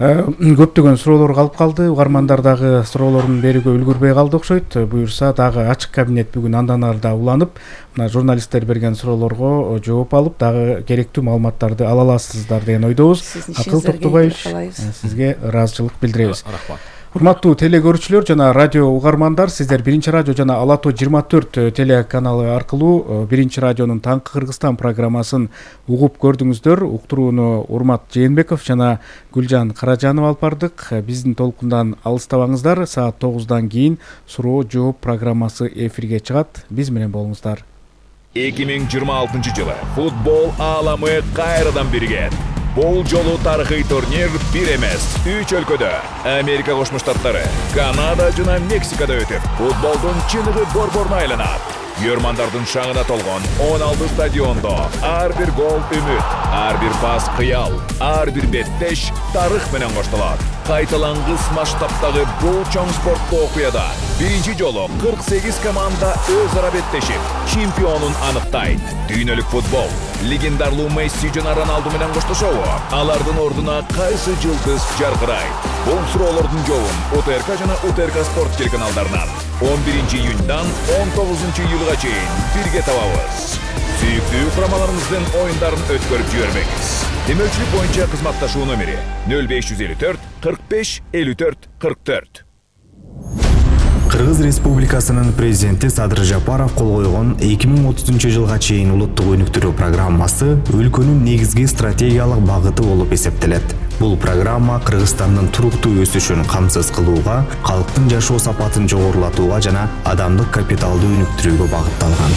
S2: Көптөгөн суроолор калып калды. Угармандар дагы суроолорун берүүгө үлгүрбөй калды окшойт. Буюрса дагы ачык кабинет бүгүн андан ары да уланып, мына журналисттер берген суроолорго жооп алып, дагы керектүү маалыматтарды ала аласыздар деген ойдобуз. Акыл Токтобаевич, сизге ыраазычылык билдиребиз.
S1: Рахмат.
S2: Урматтуу теле көрүүчүлөр жана радио угармандар, сиздер Биринчи радио жана Ала Тоо жыйырма төрт телеканалы аркылуу Биринчи радионун Таңкы Кыргызстан программасын угуп көрдүңүздөр. Уктурууну Урмат Жээнбеков жана Гүлжан Каражанова алып бардык. Биздин толкундан алыстабаңыздар. Саат тогуздан кийин суроо жооп программасы эфирге чыгат. Биз менен болуңуздар.
S6: эки миң жыйырма алтынчы жылы футбол ааламы кайрадан биригет. Бул жолу тарыхый турнир бир эмес, үч өлкөдө Америка Кошмо Штаттары, Канада жана Мексикада өтүп, футболдун чыныгы борборуна айланат. Көрмандардын шаңына толгон он алты стадиондо ар бир гол үмүт, ар бир пас кыял, ар бир беттеш тарых менен коштолот. Кайталангыс масштабтагы бул чоң спорттуу окуяда биринчи жолу кырк сегиз команда өз ара беттешип, чемпионун аныктайт. Дүйнөлүк футбол легендарлуу Месси жана Роналду менен коштошобу? Алардын ордуна кайсы жылдыз жаркырайт? Бул суроолордун жообун УТРК жана УТРК спорт телеканалдарынан он биринчи июньдан он тогузунчу июлга чейин бирге табабыз. Сүйүктүү курамаларыбыздын оюндарын өткөрүп жибербеңиз. Демөөлчүлүк боюнча кызматташуу номери нөл беш жүз элүү төрт кырк беш элүү төрт кырк төрт.
S7: Кыргыз Республикасынын президенти Садыр Жапаров кол койгон эки миң отузунчу жылга чейин улуттук өнүктүрүү программасы өлкөнүн негизги стратегиялык багыты болуп эсептелет. Бул программа Кыргызстандын туруктуу өсүшүн камсыз кылууга, калктын жашоо сапатын жогорулатууга жана адамдык капиталды өнүктүрүүгө багытталган.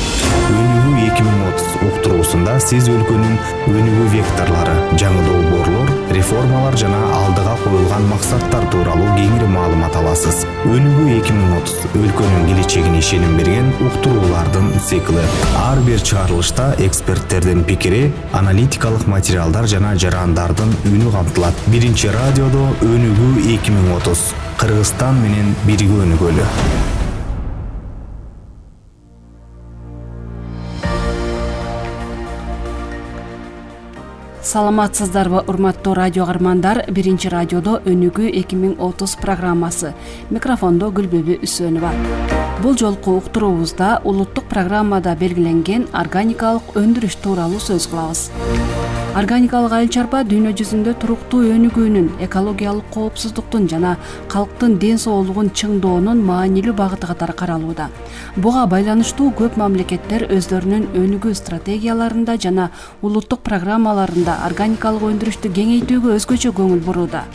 S7: Өнүгүү эки миң отуз уктуруусунда сиз өлкөнүн өнүгүү векторлору, жаңы долбоорлор, реформалар жана алдыга коюлган максаттар тууралуу кеңири маалымат аласыз. Өнүгүү эки миң отуз өлкөнүн келечегине ишеним берген уктуруулардын цикли. Ар бир чыгарылышта эксперттердин пикири, аналитикалык материалдар жана жарандардын үнү камтылат. Биринчи радиодо өнүгүү эки миң отуз. Кыргызстан менен бирге өнүгөлү.
S8: Саламатсыздарбы, урматтуу радио каармандар? Биринчи радиодо өнүгүү эки миң отуз программасы. Микрофондо Гүлбөбү Үсөнова. Бул жолку уктуруубузда улуттук программада белгиленген органикалык өндүрүш тууралуу сөз кылабыз. Органикалык айыл чарба дүйнө жүзүндө туруктуу өнүгүүнүн, экологиялык коопсуздуктун жана калктын ден соолугун чыңдоонун маанилүү багыты катары каралууда. Буга байланыштуу көп мамлекеттер өздөрүнүн өнүгүү стратегияларында жана улуттук программаларында органикалык өндүрүштү кеңейтүүгө өзгөчө көңүл бурууда.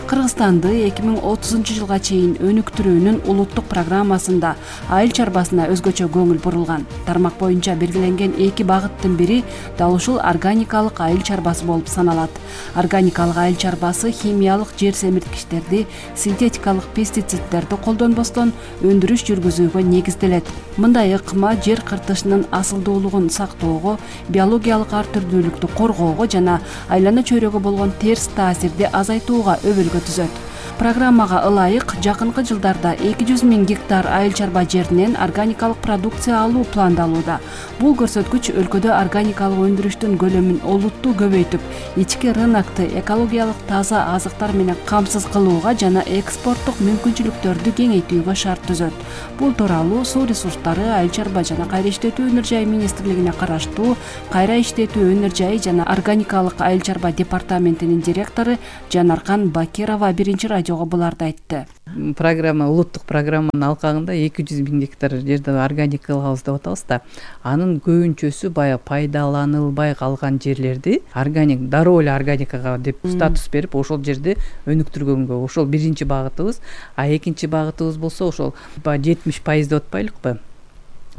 S8: Кыргызстанды эки миң отузунчу жылга чейин өнүктүрүүнүн улуттук программасында айыл чарбасына өзгөчө көңүл бурулган. Тармак боюнча белгиленген эки багыттын бири дал ушул органикалык айыл чарбасы болуп саналат. Органикалык айыл чарбасы химиялык жер семирткичтерди, синтетикалык пестициддерди колдонбостон өндүрүш жүргүзүүгө негизделет. Мындай ыкма жер кыртышынын асылдуулугун сактоого, биологиялык ар түрдүүлүктү коргоого жана айлана чөйрөгө болгон терс таасирди азайтууга өбөлгө түзөт. программага ылайык жакынкы жылдарда эки жүз миң гектар айыл чарба жеринен органикалык продукция алуу пландалууда. Бул көрсөткүч өлкөдө органикалык өндүрүштүн көлөмүн олуттуу көбөйтүп, ички рынокто экологиялык таза азыктар менен камсыз кылууга жана экспорттук мүмкүнчүлүктөрдү кеңейтүүгө шарт түзөт. Бул тууралуу Суу ресурстары, айыл чарба жана кайра иштетүү өнөр жайы министрлигине караштуу Кайра иштетүү өнөр жайы жана органикалык айыл чарба департаментинин директору Жанаркан Бакирова биринчи радиого буларды айтты.
S9: Программа, улуттук программанын алкагында эки жүз миң гектар жерде органика кылабыз деп атабыз да. Анын көбүнчөсү баягы пайдаланылбай калган жерлерди органик, дароо эле органикага деп статус берип, ошол жерде өнүктүргөнгө, ошол биринчи багытыбыз. А экинчи багытыбыз болсо ошол жетимиш пайыз деп атпайлыкпы?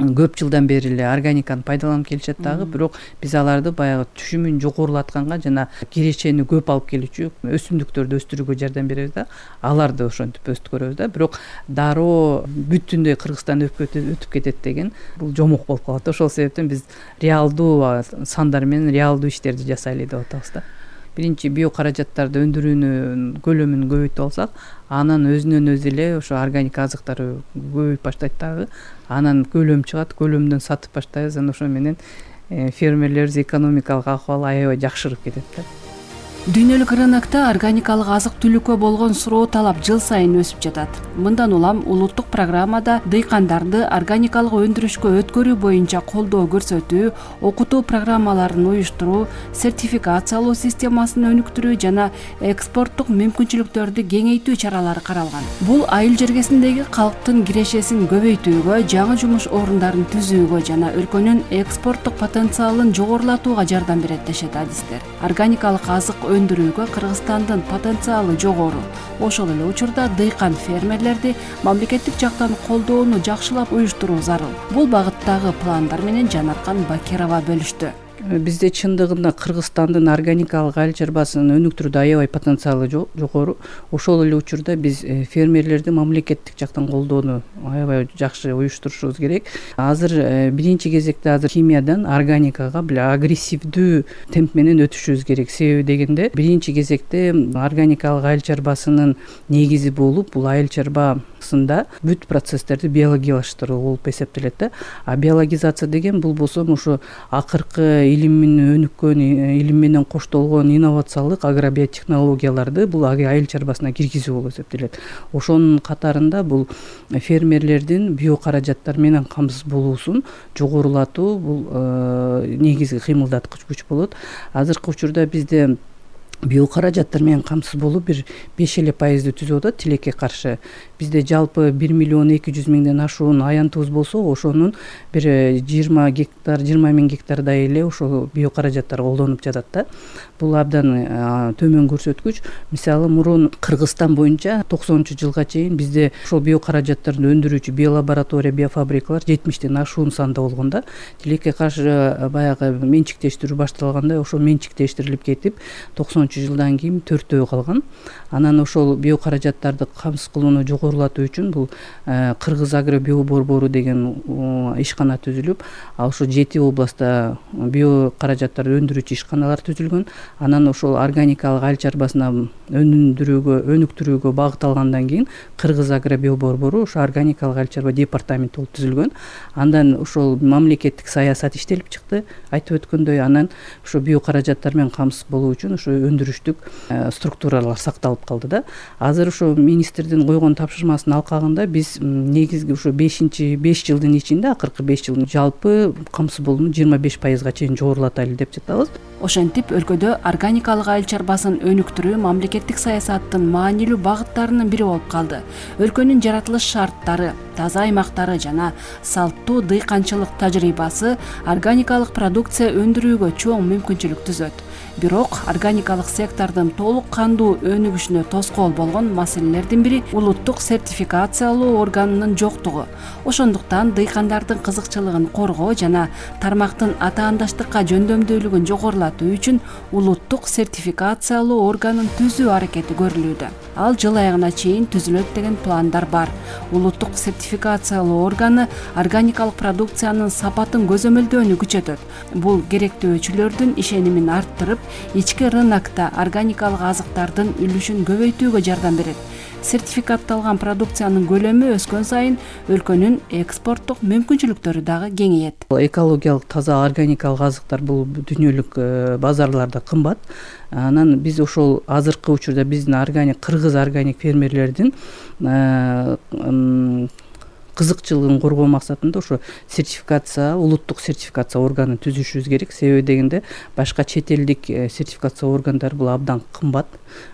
S9: Көп жылдан бери эле органиканы пайдаланып келишет дагы, бирок биз аларды баягы түшүмүн жогорулатканга жана кирешени көп алып келүүчү өсүмдүктөрдү өстүрүүгө жардам беребиз да. Аларды ошентип өстүрөбүз да. Бирок дароо бүтүндөй Кыргызстан өтүп кетет деген бул жомок болуп калат. Ошол себептен биз реалдуу сандар менен реалдуу иштерди жасайлы деп атабыз да. Биринчи био каражаттарды өндүрүүнүн көлөмүн көбөйтүп алсак, анан өзүнөн өзү эле ошо органик азыктар көбөйүп баштайт дагы. Анан көлөм чыгат, көлөмдөн сатып баштайбыз. Анан ошо менен фермерлерибиз экономикалык акыбалы аябай жакшырып кетет да.
S8: Дүйнөлүк рынокто органикалык азык-түлүккө болгон суроо талап жыл сайын өсүп жатат. Мындан улам улуттук программада дыйкандарды органикалык өндүрүшкө өткөрүү боюнча колдоо көрсөтүү, окутуу программаларын уюштуруу, сертификациялоо системасын өнүктүрүү жана экспорттук мүмкүнчүлүктөрдү кеңейтүү чаралары каралган. Бул айыл жергесиндеги калктын кирешесин көбөйтүүгө, жаңы жумуш орундарын түзүүгө жана өлкөнүн экспорттук потенциалын жогорулатууга жардам берет дешет адистер. Органикалык азык өндүрүүгө Кыргызстандын потенциалы жогору. Ошол эле учурда дыйкан фермерлерди мамлекеттик жактан колдоону жакшылап уюштуруу зарыл. Бул багыттагы пландар менен Жанаркан Бакирова бөлүштү.
S9: Бизде чындыгында Кыргызстандын органикалык айыл чарбасын өнүктүрүүдө аябай потенциалы жогору. Ошол эле учурда биз фермерлерди мамлекеттик жактан колдоону аябай жакшы уюштурушубуз керек. Азыр биринчи кезекте азыр химиядан органикага биле агрессивдүү темп менен өтүшүбүз керек. Себеби дегенде биринчи кезекте органикалык айыл чарбасынын негизи болуп, бул айыл чарбасында бүт процесстерди биологиялаштыруу болуп эсептелет да. А биологизация деген бул болсо ошо акыркы илимин өнүккөн, илим менен коштолгон инновациялык агробиотехнологияларды бул айыл чарбасына киргизүү болуп эсептелет. Ошонун катарында бул фермерлердин био каражаттар менен камсыз болуусун жогорулатуу бул негизги кыймылдаткыч күч болот. Азыркы учурда бизде био каражаттар менен камсыз болуп бир беш эле пайызды түзүп атат тилекке каршы. Бизде жалпы бир миллион эки жүз миңден ашуун аянтыбыз болсо, ошонун бир жыйырма гектар, жыйырма миң гектардай эле ошол био каражаттар колдонуп жатат да. Бул абдан төмөн көрсөткүч. Мисалы мурун Кыргызстан боюнча токсонунчу жылга чейин бизде ошол био каражаттарды өндүрүүчү биолаборатория, биофабрикалар жетимиштен ашуун санда болгон да. Тилекке каршы баягы менчиктештирүү башталганда ошол менчиктештирилип кетип, токсонунчу жылдан кийин төртөө калган. Анан ошол био каражаттарды камсыз кылууну жогорулатуу үчүн бул Кыргыз агро био борбору деген ишкана түзүлүп, ал ошо жети областта био каражаттарды өндүрүүчү ишканалар түзүлгөн. Анан ошол органикалык айыл чарбасына өндүрүүгө, өнүктүрүүгө багытталгандан кийин Кыргыз агро био борбору ошо органикалык айыл чарба департаменти болуп түзүлгөн. Андан ошол мамлекеттик саясат иштелип чыкты, айтып өткөндөй. Анан ошо био каражаттар менен камсыз болуу үчүн ошо өндүрүштүк структуралар сакталып калды да. Азыр ошо министрдин койгон тапшырмасынын алкагында биз негизги ошо бешинчи беш жылдын ичинде, акыркы беш жылдын жалпы камсыз болууну жыйырма беш пайызга чейин жогорулатайлы деп жатабыз.
S8: Ошентип өлкөдө органикалык айыл чарбасын өнүктүрүү мамлекеттик саясаттын маанилүү багыттарынын бири болуп калды. Өлкөнүн жаратылыш шарттары, таза аймактары жана салттуу дыйканчылык тажрыйбасы органикалык продукция өндүрүүгө чоң мүмкүнчүлүк түзөт. Бирок органикалык сектордун толук кандуу өнүгүшүнө тоскоол болгон маселелердин бири улуттук сертификациялоо органынын жоктугу. Ошондуктан дыйкандардын кызыкчылыгын коргоо жана тармактын атаандаштыкка жөндөмдүүлүгүн жогорулатуу үчүн улуттук сертификациялоо органын түзүү аракети көрүлүүдө. Ал жыл аягына чейин түзүлөт деген пландар бар. Улуттук сертификациялоо органы органикалык продукциянын сапатын көзөмөлдөөнү күчөтөт. Бул керектөөчүлөрдүн ишенимин арттырып, ички рынокто органикалык азыктардын үлүшүн көбөйтүүгө жардам берет. Сертификатталган продукциянын көлөмү өскөн сайын өлкөнүн экспорттук мүмкүнчүлүктөрү дагы кеңейет.
S9: Экологиялык таза органикалык азыктар бул дүйнөлүк базарларда кымбат. Анан биз ошол азыркы учурда биздин органик кыргыз органик фермерлердин кызыкчылыгын коргоо максатында ошо сертификация, улуттук сертификация органын түзүшүбүз керек. Себеби дегенде башка чет элдик сертификация органдары бул абдан кымбат.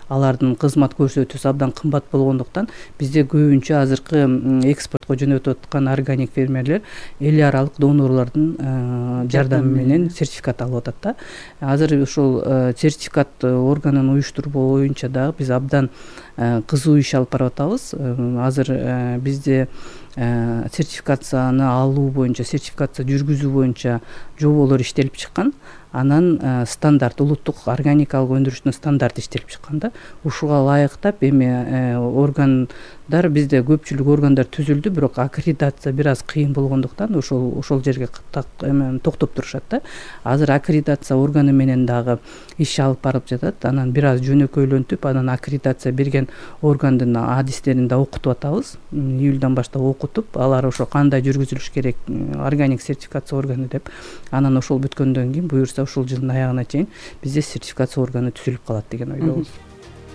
S9: Алардын кызмат көрсөтүүсү абдан кымбат болгондуктан бизде көбүнчө азыркы экспортко жөнөтүп аткан органик фермерлер эл аралык донорлордун жардамы менен сертификат алып атат да. Азыр ошол сертификат органын уюштуруу боюнча дагы биз абдан кызуу иш алып барып атабыз. Азыр бизде сертификацияны алуу боюнча, сертификация жүргүзүү боюнча жоболор иштелип чыккан. Анан стандарт, улуттук органикалык өндүрүштүн стандарты иштелип чыккан да. Ушуга ылайыктап эми органдар бизде көпчүлүк органдар түзүлдү, бирок аккредитация бир аз кыйын болгондуктан ошол ошол жерге токтоп турушат да. Азыр аккредитация органы менен дагы иш алып барып жатат. Анан бир аз жөнөкөйлөнтүп, анан аккредитация берген органдын адистерин да окутуп атабыз. Июлдан баштап окутуп, алар ошо кандай жүргүзүлүш керек, органик сертификация органы деп. Анан ошол бүткөндөн кийин буюрса ушул жылдын аягына чейин бизде сертификация органы түзүлүп калат деген ойдобуз.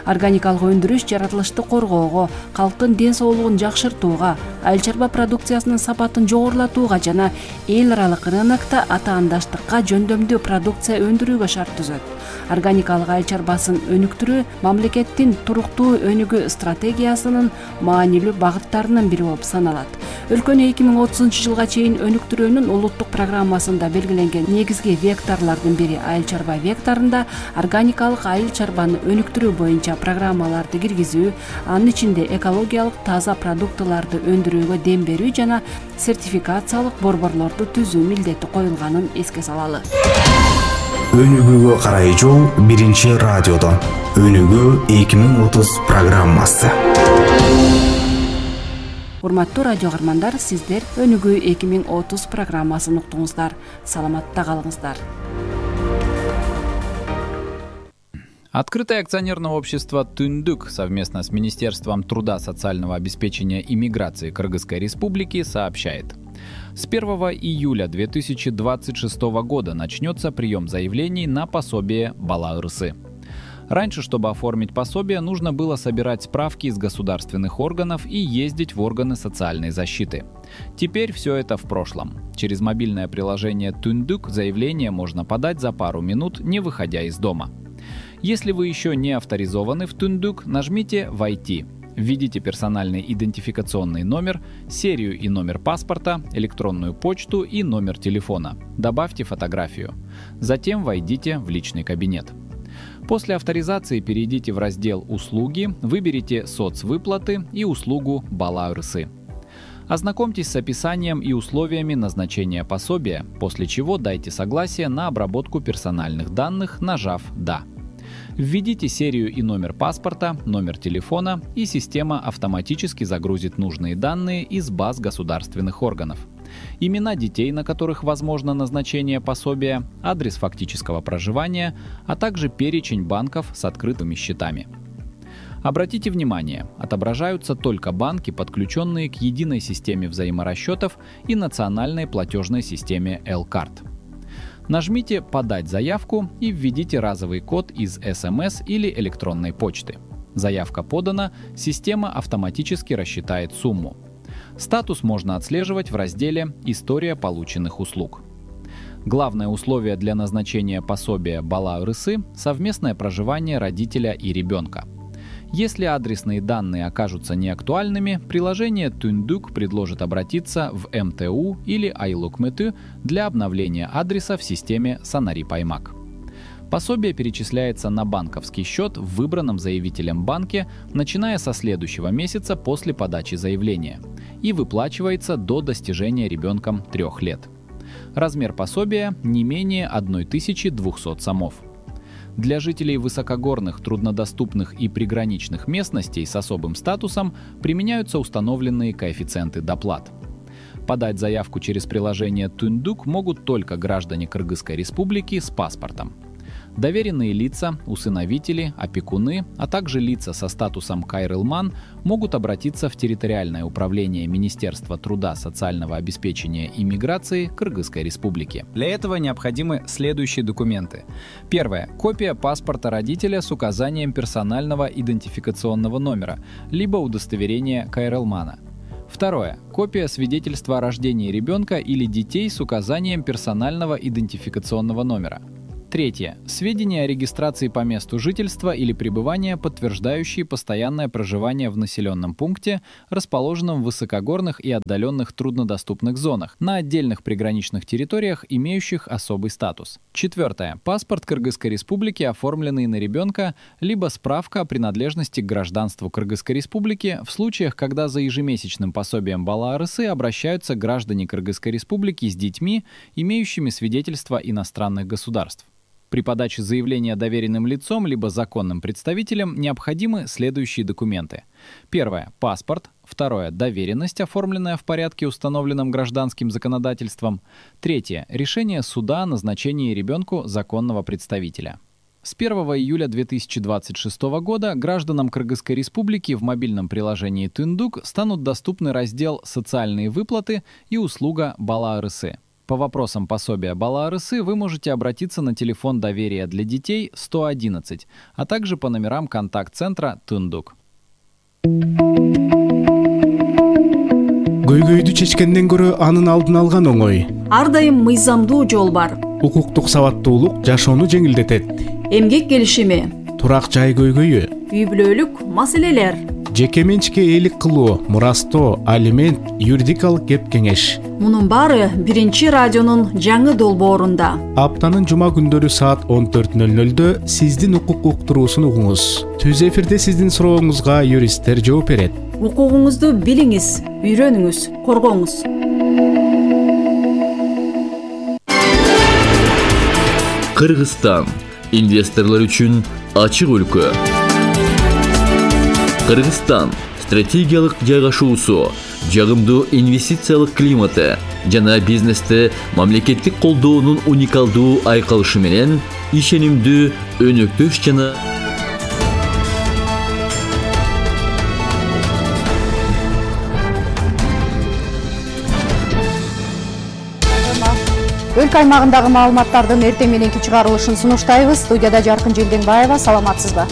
S8: Органикалык өндүрүш жаратылышты коргоого, калктын ден соолугун жакшыртууга, айыл чарба продукциясынын сапатын жогорулатууга жана эл аралык рынокто атаандаштыкка жөндөмдүү продукция өндүрүүгө шарт түзөт. Органикалык айыл чарбасын өнүктүрүү мамлекеттин туруктуу өнүгүү стратегиясынын маанилүү багыттарынын бири болуп саналат. Өлкөнү эки миң отузунчу жылга чейин өнүктүрүүнүн улуттук программасында белгиленген негизги векторлордун бири айыл чарба векторунда органикалык айыл чарбаны өнүктүрүү боюнча программаларды киргизүү, анын ичинде экологиялык таза продуктыларды өндүрүүгө дем берүү жана сертификациялык борборлорду түзүү милдети коюлганын эске салалы.
S7: Өнүгүүгө карай жол биринчи радиодо. Өнүгүү эки миң отуз программасы.
S8: Урматтуу радио каармандар, сиздер Өнүгүү эки миң отуз программасын уктуңуздар. Саламатта калыңыздар.
S10: Открытое акционерное общество «Түндүк» совместно с Министерством труда, социального обеспечения и миграции Кыргызской Республики сообщает. С первого июля две тысячи двадцать шестого года начнется прием заявлений на пособие Бала Ырысы. Раньше, чтобы оформить пособие, нужно было собирать справки из государственных органов и ездить в органы социальной защиты. Теперь все это в прошлом. Через мобильное приложение «Түндүк» заявление можно подать за пару минут, не выходя из дома. Если вы еще не авторизованы в «Түндүк», нажмите «Войти». Введите персональный идентификационный номер, серию и номер паспорта, электронную почту и номер телефона. Добавьте фотографию. Затем войдите в личный кабинет. После авторизации перейдите в раздел «Услуги», выберите «Соцвыплаты» и услугу «Бала Ырысы». Ознакомьтесь с описанием и условиями назначения пособия, после чего дайте согласие на обработку персональных данных, нажав «Да». Введите серию и номер паспорта, номер телефона, и система автоматически загрузит нужные данные из баз государственных органов. Имена детей, на которых возможно назначение пособия, адрес фактического проживания, а также перечень банков с открытыми счетами. Обратите внимание, отображаются только банки, подключенные к единой системе взаиморасчетов и национальной платежной системе L-Card. Нажмите «Подать заявку» и введите разовый код из эс эм эс или электронной почты. Заявка подана, система автоматически рассчитает сумму. Статус можно отслеживать в разделе «История полученных услуг». Главное условие для назначения пособия Бала Ырысы – совместное проживание родителя и ребенка. Если адресные данные окажутся неактуальными, приложение «Түндүк» предложит обратиться в эм тэ у или Айлукмэты для обновления адреса в системе Санари-Паймак. Пособие перечисляется на банковский счет в выбранном заявителем банке, начиная со следующего месяца после подачи заявления, и выплачивается до достижения ребенком трех лет. Размер пособия не менее тысячи двухсот сомов. Для жителей высокогорных, труднодоступных и приграничных местностей с особым статусом применяются установленные коэффициенты доплат. Подать заявку через приложение «Түндүк» могут только граждане Кыргызской Республики с паспортом. Доверенные лица, усыновители, опекуны, а также лица со статусом кайрылман могут обратиться в территориальное управление Министерства труда, социального обеспечения и миграции Кыргызской Республики. Для этого необходимы следующие документы. Первое. Копия паспорта родителя с указанием персонального идентификационного номера, либо удостоверение кайрылмана. Второе. Копия свидетельства о рождении ребенка или детей с указанием персонального идентификационного номера. Третье. Сведения о регистрации по месту жительства или пребывания, подтверждающие постоянное проживание в населенном пункте, расположенном в высокогорных и отдаленных труднодоступных зонах, на отдельных приграничных территориях, имеющих особый статус. Четвертое. Паспорт Кыргызской Республики, оформленный на ребенка, либо справка о принадлежности к гражданству Кыргызской Республики в случаях, когда за ежемесячным пособием Бала Арысы обращаются граждане Кыргызской Республики с детьми, имеющими свидетельство иностранных государств. При подаче заявления доверенным лицом либо законным представителем необходимы следующие документы. Первое. Паспорт. Второе. Доверенность, оформленная в порядке, установленном гражданским законодательством. Третье. Решение суда о назначении ребенку законного представителя. С первого июля две тысячи двадцать шестого года гражданам Кыргызской Республики в мобильном приложении Түндүк станут доступны раздел «Социальные выплаты» и услуга Бала Арысы. По вопросам пособия Бала Арысы вы можете обратиться на телефон доверия для детей сто одиннадцать, а также по номерам контакт-центра Түндүк.
S2: Көйгөйдү чечкенден көрө анын алдын алган оңой.
S8: Ар дайым мыйзамдуу жол бар.
S2: Укуктук сабаттуулук жашоону жеңилдетет.
S8: Эмгек келишими,
S2: турак жай көйгөйү,
S8: үй бүлөлүк маселелер,
S2: жеке менчикке ээлик кылуу, мурастоо, алимент, юридикалык кеп кеңеш.
S8: Мунун баары биринчи радионун жаңы долбоорунда.
S2: Аптанын жума күндөрү саат он төрт нөл нөлдө сиздин укук уктуруусун угуңуз. Түз эфирде сиздин сурооңузга юристтер жооп берет.
S8: Укугуңузду билиңиз, үйрөнүңүз, коргоңуз.
S11: Кыргызстан инвесторлор үчүн ачык өлкө. Кыргызстан стратегиялык жайгашуусу, жагымдуу инвестициялык климаты жана бизнесте мамлекеттик колдоонун уникалдуу айкалышы менен ишенимдүү, өнөктөш жана
S12: өлкө аймагындагы маалыматтардын эртең мененки чыгарылышын сунуштайбыз. Студияда Жаркын Желденбаева, саламатсызбы?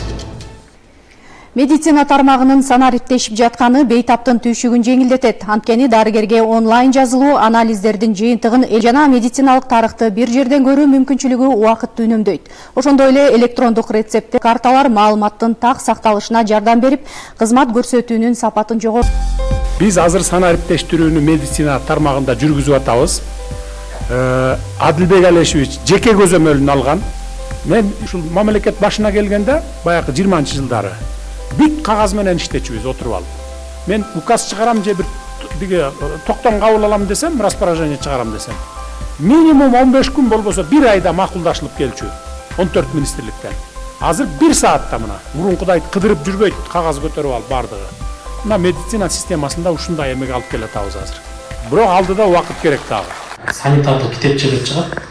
S12: Медицина тармагынын санариптешип жатканы бейтаптын түйшүгүн жеңилдетет. Анткени дарыгерге онлайн жазылуу анализдердин жыйынтыгын жана медициналык тарыхты бир жерден көрүү мүмкүнчүлүгү убакытты үнөмдөйт. Ошондой эле электрондук рецепт карталар маалыматтын так сакталышына жардам берип, кызмат көрсөтүүнүн сапатын жоготот.
S13: Биз азыр санариптештирүүнү медицина тармагында жүргүзүп атабыз. Адилбек Алешевич жеке көзөмөлүн алган. Мен ушул мамлекет башына келгенде баягы жыйырманчы жылдары бүт кагаз менен иштечүбүз отуруп алып. Мен указ чыгарам же бир биге токтом кабыл алам десем, распоряжение чыгарам десем, минимум он беш күн болбосо бир айда макулдашылып келчү он төрт министрликтен. Азыр бир саатта мына мурункудай кыдырып жүрбөйт, кагаз көтөрүп алып бардыгы. Мына медицина системасында ушундай эмеге алып келатабыз азыр. Бирок алдыда убакыт керек дагы.
S14: Санитардык китепче деп чыгат.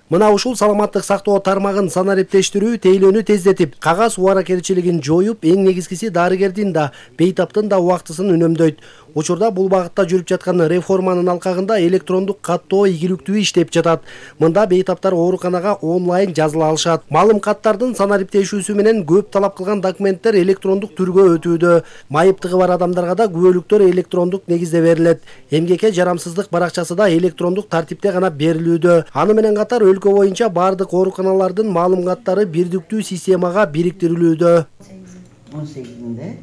S15: Мына ушул саламаттык сактоо тармагын санариптештирүү тейлөөнү тездетип, кагаз убаракерчилигин жоюп, эң негизгиси дарыгердин да, бейтаптын да убактысын үнөмдөйт. Учурда бул багытта жүрүп жаткан реформанын алкагында электрондук каттоо ийгиликтүү иштеп жатат. Мында бейтаптар ооруканага онлайн жазыла алышат. Маалым каттардын санариптешүүсү менен көп талап кылган документтер электрондук түргө өтүүдө. Майыптыгы бар адамдарга да күбөлүктөр электрондук негизде берилет. Эмгекке жарамсыздык баракчасы да электрондук тартипте гана берилүүдө. Аны менен катар өлкө боюнча бардык ооруканалардын маалым каттары бирдиктүү системага бириктирилүүдө. он сегизинде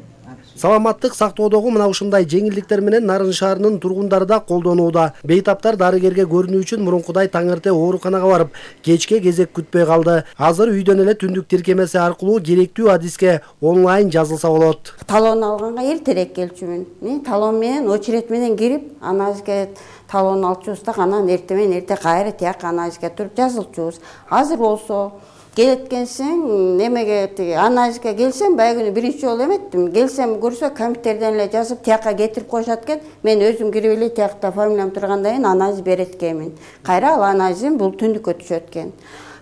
S15: Саламаттык сактоодогу мына ушундай жеңилдиктер менен Нарын шаарынын тургундары да колдонууда. Бейтаптар дарыгерге көрүнүү үчүн мурункудай таң эрте ооруканага барып, кечке кезек күтпөй калды. Азыр үйдөн эле түндүк тиркемеси аркылуу керектүү адиске онлайн жазылса болот.
S16: Талон алганга эртерээк келчүмүн. Мен талон менен очередь менен кирип, анализге талон алчубуз да, анан эрте менен эрте кайра тияк анализге туруп жазылчубуз. Азыр болсо келеткенсиң, немеге анализге келсем, байгүнү биринчи жолу эметтим. Келсем көрсө компьютерден эле жазып тияка кетирип коюшат экен. Мен өзүм кирип эле тиякта фамилиям тургандан кийин анализ берет экенмин. Кайра ал анализим бул түндүккө түшөт экен.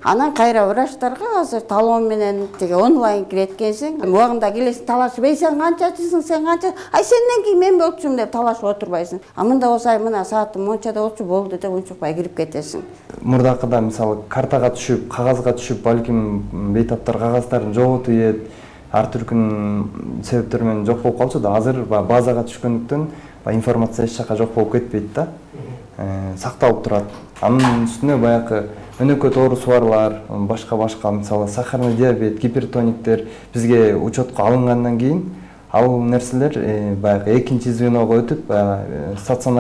S16: Анан кайра врачтарга азыр талон менен тиги онлайн киреткенсиң, убагында келесиң талашып, "Эй, сен канчачысың, сен канча? Ай, сенден кийин мен болчумун" деп талашып отурбайсың. А мында болсо, "Ай, мына саатым мончада болчу, болду" деп унчукпай кирип кетесиң.
S17: Мурдакыда мисалы картага түшүп, кагазга түшүп, балким бейтаптар кагаздарын жоготуп ийет, ар түркүн себептер менен жок болуп калчу да. Азыр базага түшкөндүктөн информация эч жака жок болуп кетпейт да. Сакталып турат. Анын үстүнө баягы өнөкөт оорусубарлар, башка башка мисалы сахарный диабет, гипертониктер бизге учетко алынгандан кийин ал нерселер баягы экинчи звеного өтүп, стационар